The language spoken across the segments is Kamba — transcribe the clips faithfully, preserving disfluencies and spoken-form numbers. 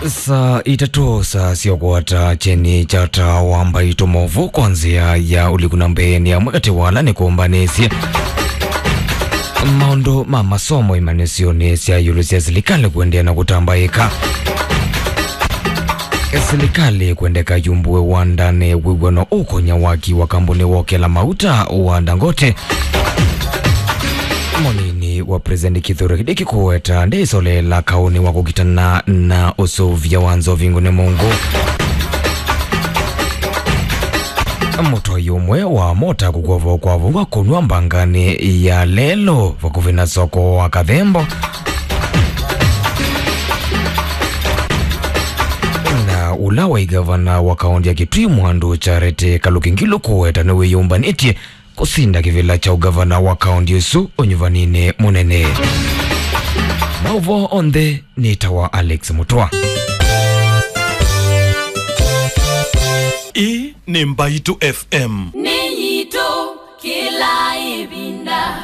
Saa itatũ, saa sya kũata kyeni kya taa wa Mbaitũ, maũvoo kwa nzĩa ya ũliku na mbee nĩ amwe katĩ wa ala nĩkũmbanĩsye maũndũ ma masomo imanyĩsyonĩ sya ĩũlũ sya silikalĩ kũendeea na kũtambaĩka. Silikalĩ kwendeka yumbũe wandanĩ wĩw'ano ũkũnya waki wa kambuni wa ũkela mauta wa Dangote. Mũnini wa President Kithure Kindiki kũweta ndĩsoleela kaũnĩ wa kũkitana na ũsũvĩa wa nzovi ngũne mũngũ. Mũtwai ũmwe wa mota kũkwovwa kwa vua kũnwa mbanganĩ ya lelo vakuvĩ na soko wa Kathembo. Na ũla waĩ gavana wa kaũntĩ ya Kitui Mwandu Charity Kaluki Ngilu kũweta nĩwĩyũmbanĩtye kũsinda kĩvĩla kya ũgavana wa kaũntĩ ĩsu ũnyuvaninĩ mũnene. Maũvoo onthe nĩ ta wa Alex Mũtwa. Ĩĩ nĩ Mbaitũ F M. Nĩ yitũ kĩla ĩvinda.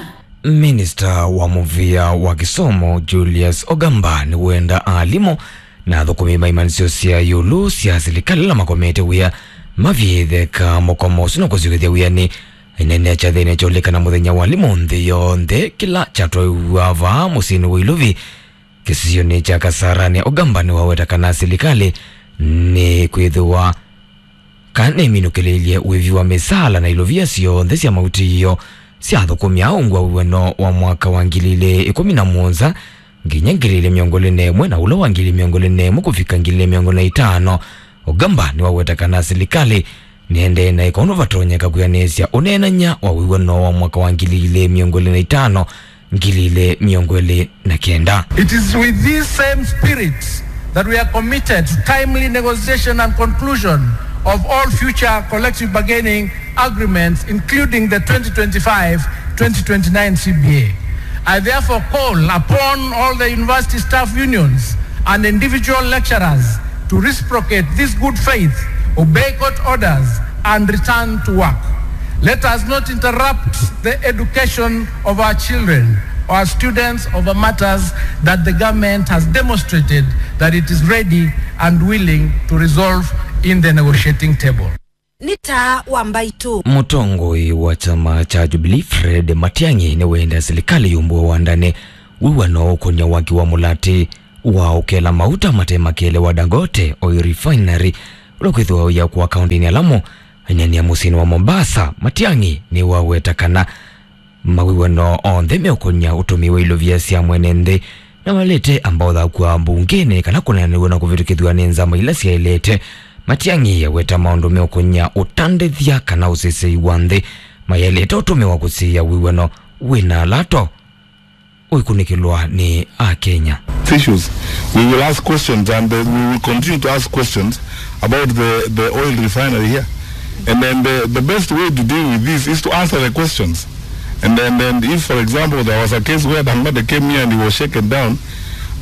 Minista wa mũvĩa wa kĩsomo Julius Ogamba nĩwenda alimũ na athũkũmi ma imanyĩsyo sya ĩũlũ sya silikalĩ ala makomete wĩa mavyĩtheka mũkomo ũsu na kũsyokethya wĩanĩ. Aineenea kyathĩnĩ kya ũlikana mũthenya wa alimũ nthĩ yonthe kĩla kyatwaiwa vaa mũsyĩnĩ wa Ilovi kĩsionĩ kya Kasarani, Ogamba nĩwaweta kana silikalĩ nĩkwĩthĩwa kana nĩminũkĩlĩilye wĩvi wa mĩsaala na ilovia syonthe sya mautĩĩo sya athũkũmi aa ungu wa wĩw'ano wa mwaka wa ngili ilĩ ĩkũmi na mũonza nginya ngili ilĩ mĩongo ĩlĩ na ĩmwe na ũla wa ngili mĩongo ĩlĩ na ĩmwe kũvika ngili ilĩ mĩongo ĩlĩ na itano. Ogamba nĩwaweta kana silikalĩ nĩendee na ĩka ũndũ vatonyeka kwĩanĩsya ũneenany'a wa wĩw'ano wa mwaka wa ngili ilĩ mĩongo ĩlĩ na itano, ngili ilĩ mĩongo ĩlĩ na kenda. It is with this same spirit that we are committed to timely negotiation and conclusion of all future collective bargaining agreements, including the twenty twenty-five twenty twenty-nine C B A. I therefore call upon all the university staff unions and individual lecturers to reciprocate this good faith, obey court orders, and return to work. Let us not interrupt the education of our children or students over matters that the government has demonstrated that it is ready and willing to resolve in the negotiating table. Nĩ taa wa Mbaitũ. Mũtongoi wa kyama kya Jubilee Fred Matiang'i nĩwenda silikalĩ yumbũe wandanĩ wĩw'ano ũkũny'a waki wa mũlatĩ wa ũkela mauta mate makele wa Dangote Oil Refinery ũla kwĩthĩwa ũyakwa kaũntĩnĩ ya Lamu, aineenea mũsyĩnĩ wa Mombasa. Matiang'i nĩwaweta kana mawĩw'ano onthe meũkũny'a ũtũmĩi wa ilovia sya mwene nthĩ na walĩte amba ũthakwa mbungenĩ kana kũneenanĩw'a na kũvĩtũkĩthw'a nĩ nzama ila syaĩlĩte. Matiang'i aweta maũndũ meũkũny'a ũtandĩthya kana ũsesei wa nthĩ mayaĩlĩte ũtũmĩwa kũsiĩĩa wĩw'ano wĩna lato ũikunĩkĩlwa nĩ Akenya. Issues. We will ask questions and uh, we will continue to ask questions about the, the oil refinery here. And then the, the best way to deal with this is to answer the questions. And then, then if, for example, there was a case where Dangote came here and he was shaken down,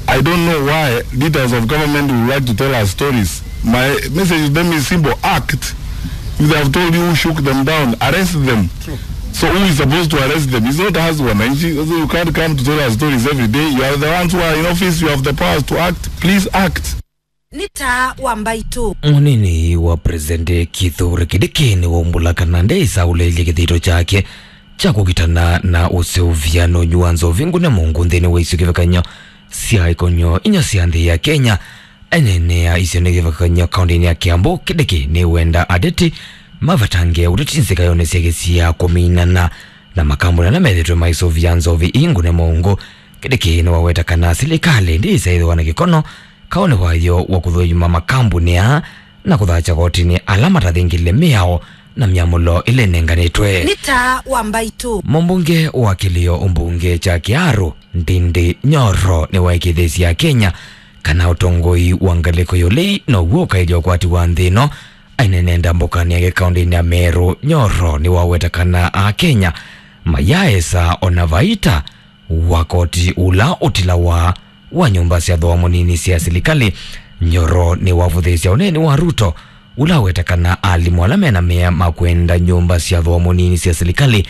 I don't know why leaders of government would like to tell us stories. My message to them is simple: act. If they have told you who shook them down, arrest them. So who is supposed to arrest them? It's not us, wananchi. So you can't come to tell us stories every day. You are the ones who are in office. You have the powers to act. Please act. Nĩ taa wa Mbaitũ. Mũnini wa President Kithure Kindiki nĩwaumbũla kana ndĩsaũlĩlye kĩthito kyake kya kũkitana na ũseũvya na ũnywi wa nzovi ngũne mũngũ nthĩnĩ wa isio kĩvakanyo sya ikonyo inya sya nthĩ ya Kenya. Aineenea isio nĩ kĩvakanyo kaũntĩnĩ ya Kiambu, Kindiki nĩwenda ateti mavetange ũteti nzĩkayonĩ sya kĩsio kũminana na makambuni ala methĩtwe maisũvya nzovi ii ngũne mũngũ. Kindiki nĩwaweta kana silikalĩ ndĩĩsaĩthĩwa na kĩkono kaũnĩ wayo wa kũthũima makambuni aa na kũthakya kotinĩ ala matathingĩlile mĩao na myamũlo ĩla ĩnenganĩtwe. Nĩ taa wa Mbaitũ. Mũmbunge wa kĩlĩo ũmbunge kya Kiharu, Ndindi Nyoro, nĩwaĩkĩĩthĩsye Akenya kana ũtongoi wa ngalĩko ya ũlei now'o ũkaĩlya ũkwati wa nthĩ ĩno. Aineenea ndambũkanĩ yake kaũntĩnĩ ya Meru, Nyoro nĩwaweta kana Akenya mayaesa ona vaita wa koti ũla ũtilawa wa nyũmba sya thooa mũnini sya silikalĩ. Nyoro nĩwavũthĩĩsya ũneeni wa Ruto ũla waweta kana alimũ ala mena mea ma kwenda nyũmba sya thooa mũnini sya silikalĩ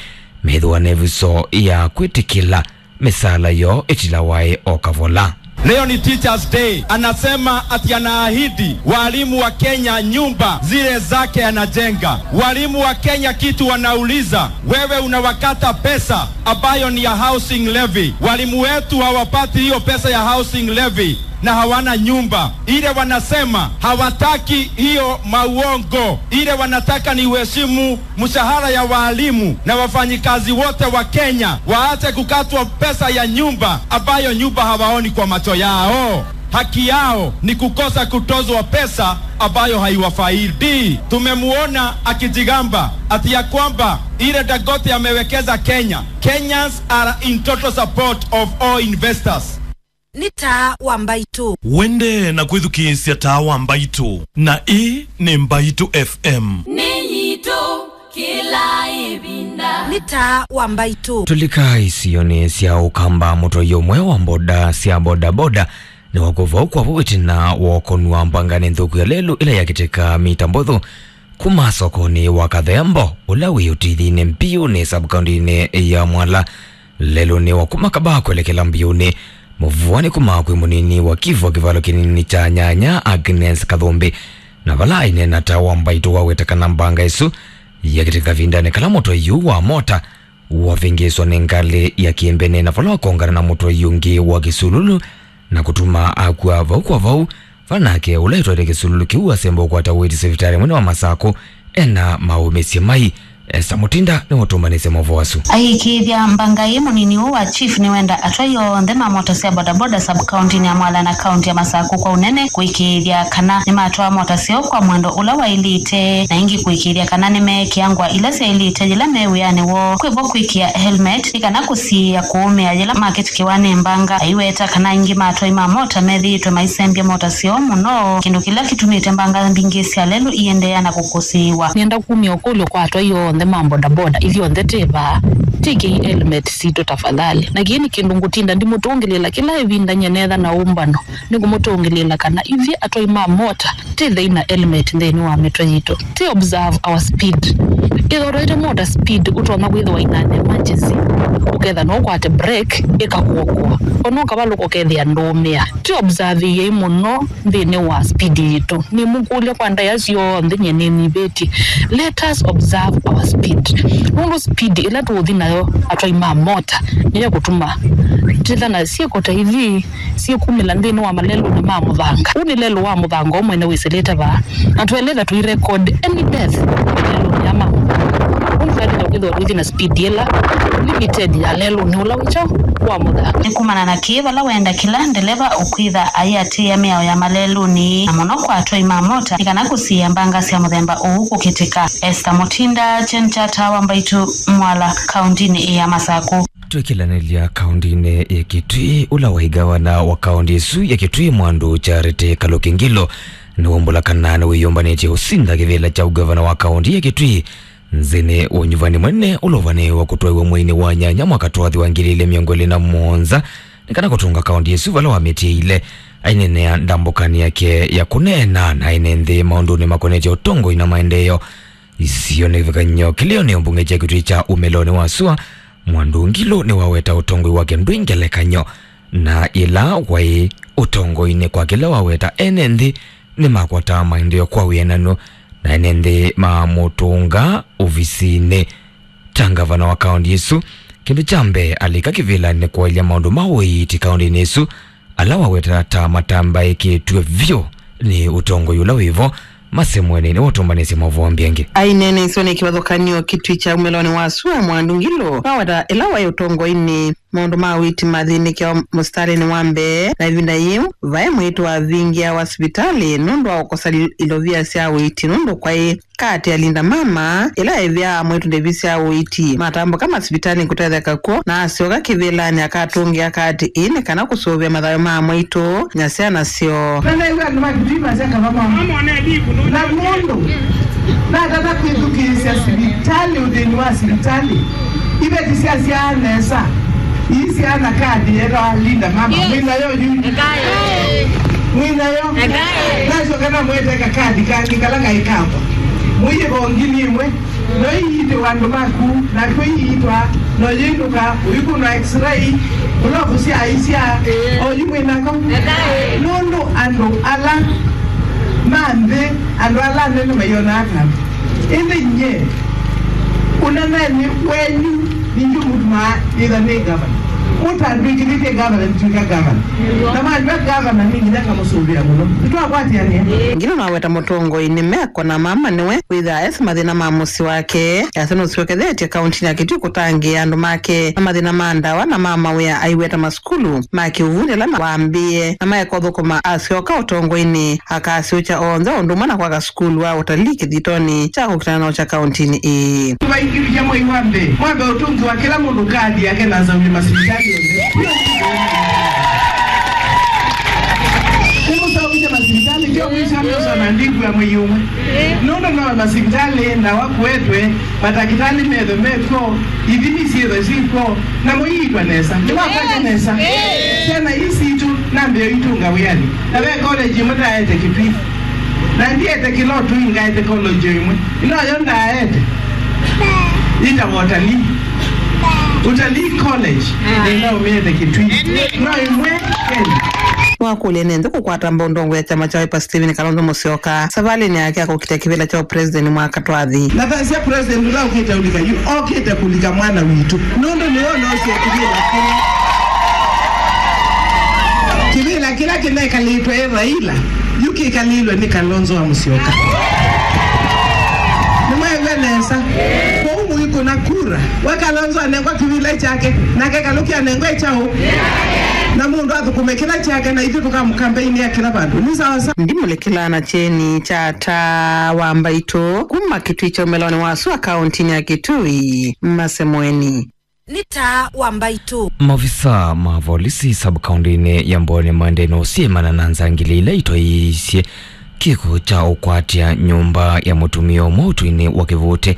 methĩwa na ĩvuso ya kwĩtĩkĩla mĩsaala yoo ĩtilawae o kavola. Leo ni Teachers Day. Anasema ati anaahidi walimu wa Kenya nyumba zile zake anajenga. Walimu wa Kenya kitu wanauliza, wewe unawakata pesa ambayo ni ya housing levy. Walimu wetu hawapati hiyo pesa ya housing levy na hawana nyumba. Ile wanasema hawataki hiyo mauongo. Ile wanataka ni uheshimu mshahara ya walimu na wafanyikazi wote wa Kenya, waache kukatwa pesa ya nyumba ambayo nyumba hawaoni kwa macho yao. Haki yao ni kukosa kutozwa pesa ambayo haiwafaidi. Tumemuona akijigamba ati ya kwamba ile Dangote amewekeza Kenya. Kenyans are in total support of all investors. Nĩ taa wa mbaitũ. Wende na kwĩthukĩĩsya taa wa mbaitũ, na ĩĩ nĩ Mbaitũ F M. Nĩ yitũ kĩla ĩvinda. Nĩ taa wa mbaitũ. Tũlika isionĩ sya ũkamba mũtwaia ũmwe wa mboda sya bodaboda nĩwakũva ũkwavo ĩtina wa ũkũnwa mbanganĩ nthũku ya lelũ ĩla yakĩtĩka mita mbũthũ kuma sokonĩ wa Kathembo, ũla wĩ ũtithinĩ Mbiũnĩ sub-kauntinĩ ya Mwala. Lelũnĩ wa kuma Kabaa kwelekela Mbiũnĩ, mũvuanĩ kuma kwĩ mũnini wa kivu wa kĩvalo kĩnini kya nyanya Agnes Kathũmbĩ, na vala aineena ta wa mbaitũ waweta kana mbanga ĩsu yakĩtĩka kavindanĩ kala mũtwaia yu wa mota wavĩngĩĩswa nĩ ngalĩ ya kĩmbene na vala wakongana na mũtwaia ũngĩ wa kĩsululu na kũtuma akw'a vau kwa vau. Vala nake ũla ĩtwaĩte kĩsululu kĩu asemba ũkwata ũiiti sivitalĩ mũnene wa Masakũ ena maũmĩsye mai. Esther Mutinda nĩwe ũtũmbanĩsye maũvoo asu. Aiĩkĩĩthya mbanga ĩĩ, mũnini ũũ wa chief nĩwenda atwai onthe ma mota sya bodaboda sub-kauntinĩ ya Mwala na kaunti ya Masakũ kwa ũnene kũĩkĩĩthya kana nĩmatwaa mota syoo kwa mwendo ũla waĩlĩte, na ĩngĩ kũĩkĩĩthya kana nĩmeekĩa ngũa ila syaĩlĩte yĩla me wĩanĩ woo. Kwĩvo kwĩkĩa helmet nĩ kana kũsiĩĩa kũũmĩa yĩla makĩtĩkĩwa nĩ mbanga. Aiweta kana aingĩ ma atwai ma mota methĩĩtwe maisembya mota syoo mũno, kĩndũ kĩla kĩtumĩte mbanga mbingĩ sya lelũ iendeea na kũkũsĩĩwa. Nĩenda kumya ũkũlyo kwa atwai onthe ma bodaboda, ithyonthe twĩ vaa, twĩkĩei helmet sitũ tafadhali. Na kĩĩ nĩ kĩndũ ngũtinda ndimũtũngĩlĩĩla kĩla ĩvinda nyie netha na ũmbano. Nĩngũmũtũngĩlĩĩla kana ithyĩ atwai ma mota twĩthei na helmet nthĩnĩ wa mĩtwe yitũ. Twĩ observe our speed. Ĩthwa ũtwaĩte mota speed, ũtonya kwĩthĩwa in an emergency, ũketha no ũkwate break, ĩkakũokoa. Ona ũkavalũka ũkethĩa ndũũmĩa. Twĩ observe-ĩei mũno nthĩnĩ wa speed yitũ. Nĩmũkũlya kwa ndaĩa syonthe nyie nĩnyivĩtye. Let us observe our speed. Nũndũ speed ĩla tũũthi nayo atwai ma mota nĩyo ĩkũtuma twĩthana syĩko ta ithi syĩkumĩla nthĩnĩ wa malelũnĩ ma mũthanga. Ũũ nĩ lelũ wa mũthanga ũmwe na wĩsĩlĩte vaa, na tũeleta tũirecord any death malelũnĩ aa ma mũthanga. Ũndũ twaĩlĩte kwĩthĩwa tũithi na speed ĩla limited ya lelũnĩ ũla wĩ kyaũ wa mũthanga. Nĩ kumana na kĩĩ vala wenda kĩla ndeleva ũkwĩtha aiatĩĩa mĩao ya malelũnĩ, na mũno kwa atwai ma mota, nĩ kana kũsiĩĩa mbanga sya mũthemba ũũ kũkĩtĩka. Esther Mutinda, Chen Chata wa Mbaitũ, Mwala, kauntinĩ ya Masakũ. Twĩkĩlanĩlya kauntinĩ ya Kitui, ũla waĩ ngavana wa kaunti ĩsu ya Kitui, Mwandu Charity Kaluki Ngilu, nĩwaumbũla kana nĩwĩyũmbanĩtye ũsinda kĩvĩla kya ũngavana wa kaunti ya Kitui nzĩnĩ wa ũnyuvani mũnene ũla ũvanĩĩwe kũtwaĩwa mweinĩ wa nyanya mwaka twathi wa ngili ilĩ mĩongo ĩlĩ na mũonza, nĩ kana kũtũnga kaunti ĩsu vala wamĩtĩĩile. Aineenea ndambũkanĩ yake ya kũneena na ene nthĩ maũndũnĩ makonetye ũtongoi na maendeeo. Isionĩ kĩvathũkany'o kĩlĩonĩ mbunge kya Kitui kya ũmĩlonĩ wa sua, Mwandu Ngilu nĩwaweta ũtongoi wake ndwĩ ngelekany'o, na yĩla waĩ ũtongoinĩ kwa kĩla waweta ene nthĩ nĩmakwataa maendeeo kwa wĩananu, na ene nthĩ mamũtũnga ovisinĩ ta ngavana wa kaunti ĩsu. Kĩndũ kya mbee alika kĩvĩlanĩ kwaĩlya maũndũ ma ũiiti kauntinĩ ĩsu, ala waweta ta matambaĩkĩtw'e vyũ nĩ ũtongoi ũla wĩvo. Mase Mwene nĩwe ũtũmbanĩsye maũvoo mbingĩ. Aineena isionĩ kĩvathũkany'o Kitui kya ũmĩlonĩ wa sua, Mwandu Ngilu nĩwaweta ĩla waĩ ũtongoinĩ, maũndũ ma ũiiti mathĩnĩkĩawa mũsitalĩnĩ wa mbee, na ĩvinda yĩu vaĩ mwĩĩtu wavingĩawa sivitalĩ nũndũ wa kũkosa li-, ilovia sya ũiiti nũndũ kwaĩ kaati ya Linda Mama, ĩla ĩvĩaa mwĩĩtu ndevi sya ũiiti. Matambũka masivitalĩnĩ kũtetheka kw'o, na asyoka kĩvĩlanĩ akatũngĩa kaati ĩĩ nĩ kana kũsũvĩa mathayũ ma mwĩĩtu na syana syoo. Na naigua andũ ma Kitui masya kava mama. Na mũndũ natata kwĩthukĩĩsya sivitalĩ, ũthĩni wa sivitalĩ, iveti syasyaa nesa. Ii syana kathi yetawa Linda Mama. Yes. Mwĩ nayo yu? Ekae. Mwĩ nayo? Ekae. Nasyoka namweteka kathi kangĩ kala kaĩ kakwa. Mũyĩva o ngili ĩmwe. No iitĩwa andũ maku, nakw'o iitwa No yĩndũka, ũikũnwa x-ray, glovu sya aisya, oyu mwĩnako. Nũndũ andũ ala ma nthĩ, andũ ala anene mayonaa ta andũ. Ĩndĩ nyie, ũnenenĩ wenyu, nĩngĩ mũtumaa nĩtha nĩ gavana. Mũtandwĩkĩthĩtye gavana, nĩtwĩka gavana. Na mandw'a gavana, nĩ nginya ngamũsũvĩa mũno. Nĩtwakwatĩanĩa. Ngino naweta mũtongoi nĩ meko na mama nĩwe wĩthaa esi mathĩna ma mũsyĩ wake. Yasya nũsyokethetye kauntinĩ ya Kitui kũtangĩĩa andũ make na mathĩna ma ndawa na ma mawĩa aiweta masukulu ma kĩuvundi ala wambĩĩe na maeka ũthũkũma asyoka ũtongoinĩ akasyũkya onthe ũndũ ũmwe na kwaka sukulu wa ũtalii kĩthitonĩ kya kũkitana na ũkya kauntinĩ ĩĩ. Tũvaingĩvya mwei wa mbee, mwambe ũtũngĩwa kĩla mũndũ kadi yake na nzaũlĩ masivitalĩ onthe. Nĩmũsaũkĩte masivitalĩ, kyo mwisha mĩũsa na ndiku ya mwei ũmwe. Nũndũ no masivitalĩ, ndawa kũetwe, matakĩtalĩ methwe mekw'o, ithimi syĩthwe syĩkw'o, na mũiitwa nesa. Nĩwakwata nesa. Syana ii sitũ, nambĩo itũnga wĩanĩ. Na ve college ĩmwe ndaete Kitui. Na ndiete kĩla ũtũi ngaete college ĩmwe. Ĩno yo ndaete. Ĩtawa Utalii. Utalii College. Nĩnaũmĩete Kitui. No ĩmwe Kenya. Wakũlya nĩ nthĩ kũkwata mbau ndongo ya kyama kya Wiper Stephen Kalonzo Musyoka savalĩnĩ yake ya kũkita kĩvĩla kya ũpresident mwaka twathi. Na thasya president ũla ũkĩte ũlika yu, okĩte kũlika mwana witũ. Nũndũ nĩwe ũnaosya kĩvĩla kĩla. Kĩvĩla kĩla kĩnekalĩtwe ĩ Raila, yu kĩkalĩlwe nĩ Kalonzo wa Musyoka. Nĩmwaĩw'a nesa? Kwoou mũikũna kura, we Kalonzo anengwa kĩvĩla kyake, nake Kaluki anengwe kyaũ? Na mũndũ athũkũme kĩla kyake, na ithyĩ tũkamũkambeini ya kĩla vandũ. Nĩ sawa sawa. Ndimũlĩkĩlaa na kyeni kya taa wa mbaitũ kuma Kitui kya ũmelonĩ wa sua kauntinĩ ya Kitui, Masemweni. Nĩ taa wa mbaitũ. Maofisa ma volisi sub-kauntinĩ ya Mboni maendee na ũsyĩmana na nzangili ila itwaĩĩsye kĩko kya ũkwatya nyũmba ya mũtumĩa ũmwe ũtũinĩ wa Kĩvũtĩ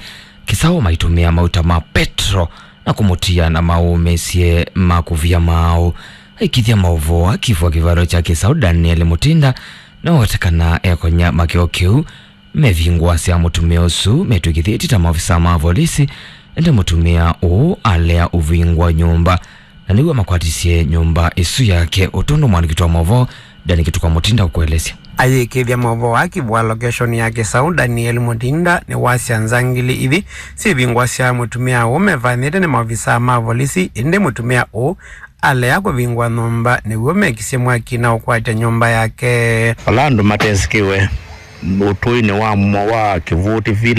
Kĩsaũ maitũmĩa mauta ma petro na kũmũtia na maũmĩsye ma kũvia maaũ. Aikithya maũvoo akivu wa kĩvalo kya Kĩsaũ Daniel Mutinda nĩwaweta kana ekonya makĩo kĩu mevingũasya mũtumĩa ũsu metw'ĩkĩthĩtye ta maofisa ma volisi, ĩndĩ mũtumĩa ũũ alea ũvingũa nyũmba, na nĩw'o makwatisye nyũmba ĩsu yake, ũtũndũ mwandĩki wa maũvoo Dani Kĩtukwa Mutinda ũkũelesya. Ayĩkĩĩthya maũvoo aa kĩvũa lokeshoni ya Kĩsaũ, Daniel Mutinda nĩwasya nzangili ithi syĩvingũasya mũtumĩa ũũ mevanĩte nĩ maovisaa ma volisi, ĩndĩ mũtumĩa ũũ alea kũvingũa nyũmba nĩw'o mekisye mwaki na ũkwatya nyũmba yake. Ala andũ matesĩkĩwe ũtũinĩ wa mwa wa Kĩvũtĩ Village.